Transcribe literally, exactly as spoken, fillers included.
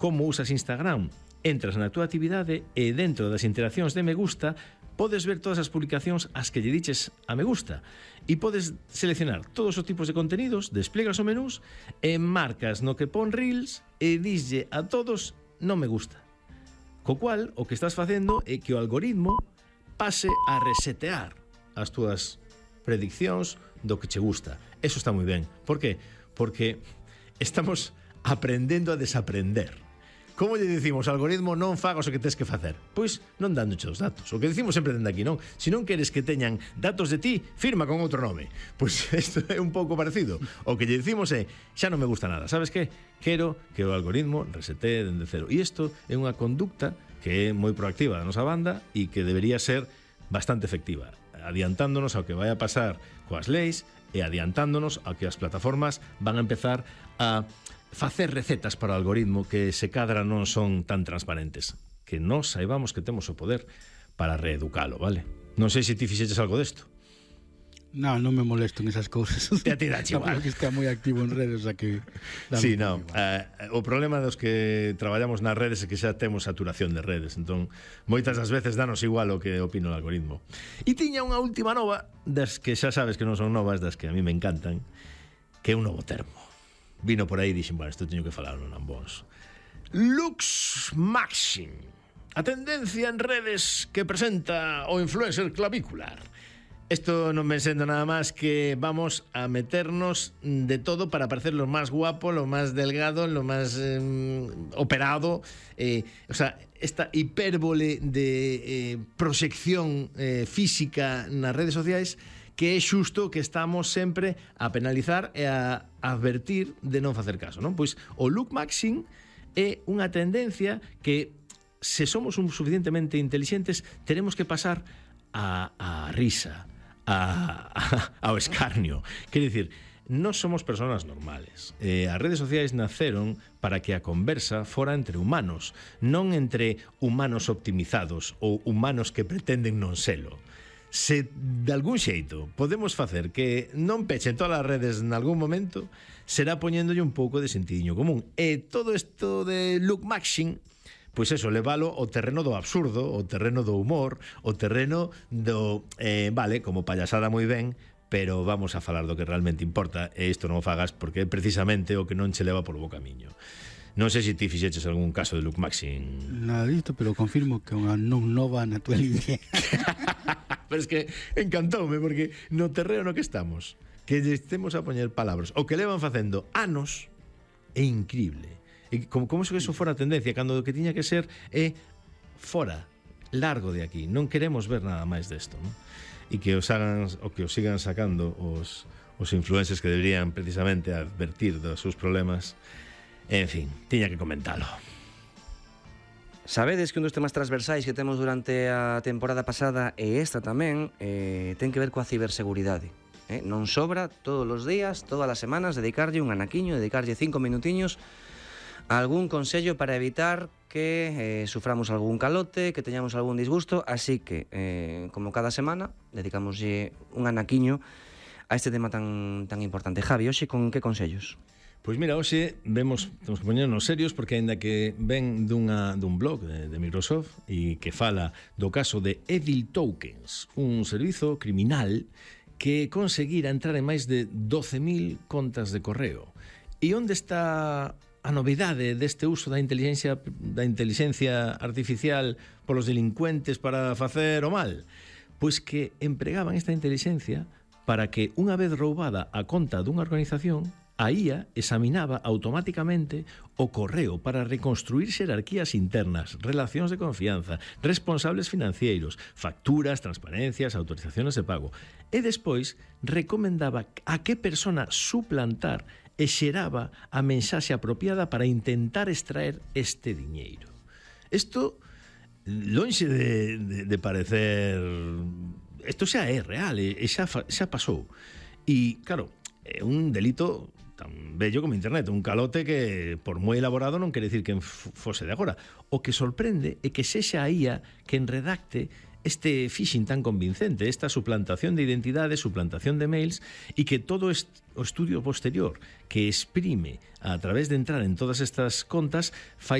como usas Instagram. Entras na túa actividade e dentro das interaccións de me gusta podes ver todas as publicacións as que lle diches a me gusta e podes seleccionar todos os tipos de contenidos, desplegas o menús e marcas no que pon Reels e dislle a todos non me gusta. Co cual, o que estás facendo é que o algoritmo pase a resetear as túas prediccións do que che gusta. Eso está moi ben. Por que? Porque estamos aprendendo a desaprender. Como lle dicimos ao algoritmo non fagas o que tes que facer? Pois non dándoche os datos. O que dicimos sempre dende aquí, non? Se non queres que teñan datos de ti, firma con outro nome. Pois isto é un pouco parecido. O que lle dicimos é, xa non me gusta nada. Sabes que? Quero que o algoritmo resetee dende cero. E isto é unha conducta que é moi proactiva da nosa banda e que debería ser bastante efectiva, adiantándonos ao que vai a pasar coas leis e adiantándonos ao que as plataformas van a empezar a facer recetas para o algoritmo que se cadra non son tan transparentes, que nós saibamos que temos o poder para reeducalo, vale? Non sei se ti fixeches algo desto. Non, non me molesto en esas cousas. Te a ti dache igual. Que está moi activo en redes, a que... Sí, non. Uh, o problema dos que traballamos nas redes é que xa temos saturación de redes, entón moitas das veces danos igual o que opina o algoritmo. E tiña unha última nova, das que xa sabes que non son novas, das que a mí me encantan, que é un novo termo. Vino por aí e dixen, bueno, isto teño que falar non ambos. Lux Maxing, a tendencia en redes que presenta o influencer clavicular. Esto non me sendo nada máis que vamos a meternos de todo para parecer lo máis guapo, lo máis delgado, lo máis eh, operado. Eh, o sea, esta hipérbole de eh, proxección eh, física nas redes sociais que é xusto que estamos sempre a penalizar e a advertir de non facer caso, non? Pois o look maxing é unha tendencia que, se somos un suficientemente intelixentes, teremos que pasar a, a risa, a, a, ao escarnio. Quer dicir, non somos persoas normales. Eh, as redes sociais naceron para que a conversa fora entre humanos, non entre humanos optimizados ou humanos que pretenden non selo. Se de algún xeito podemos facer que non pechen todas as redes en algún momento, será poñéndolle un pouco de sentidiño común. E todo isto de look maxing, pois eso, levalo ao terreno do absurdo, ao terreno do humor, ao terreno do, eh, vale, como payasada moi ben, pero vamos a falar do que realmente importa, e isto non o fagas porque é precisamente o que non che leva por bo camiño. Non sei se ti fixeches algún caso de look maxing. Nada disto, pero confirmo que unha non nova na tua línea. Pero es que encantoume, porque no terreno no que estamos, que estemos a poñer palabras, o que levan facendo anos, é increíble. E como, como se eso fora a tendencia, cando o que tiña que ser é fora, largo de aquí. Non queremos ver nada máis desto, non? E que os hagan, o que os sigan sacando os, os influencers que deberían precisamente advertir dos seus problemas. En fin, tiña que comentalo. Sabedes que un dos temas transversais que temos durante a temporada pasada e esta tamén eh, ten que ver coa ciberseguridade. Eh? Non sobra todos os días, todas as semanas, dedicarlle un anaquiño, dedicarlle cinco minutiños a algún consello para evitar que eh, suframos algún calote, que teñamos algún disgusto, así que, eh, como cada semana, dedicamoslle un anaquiño a este tema tan, tan importante. Javi, hoxe con que consellos? Pois mira, hoxe vemos, temos que poñernos serios porque aínda que ven dunha, dun blog de, de Microsoft e que fala do caso de Evil Tokens, un servizo criminal que conseguira entrar en máis de doce mil contas de correo. E onde está a novidade deste uso da inteligencia da inteligencia artificial polos delincuentes para facer o mal? Pois que empregaban esta inteligencia para que, unha vez roubada a conta dunha organización, a I A examinaba automáticamente o correo para reconstruir xerarquías internas, relacións de confianza, responsables financeiros, facturas, transparencias, autorizaciones de pago. E despois recomendaba a que persona suplantar e xeraba a mensaxe apropiada para intentar extraer este diñeiro. Isto, lonxe de, de, de parecer... Isto xa é real, e xa, xa pasou. E, claro, é un delito tan bello como internet, un calote que, por moi elaborado, non quere dicir que fose de agora. O que sorprende é que sexa a I A quen redacte este phishing tan convincente, esta suplantación de identidades, suplantación de mails, e que todo o estudio posterior que exprime a través de entrar en todas estas contas fai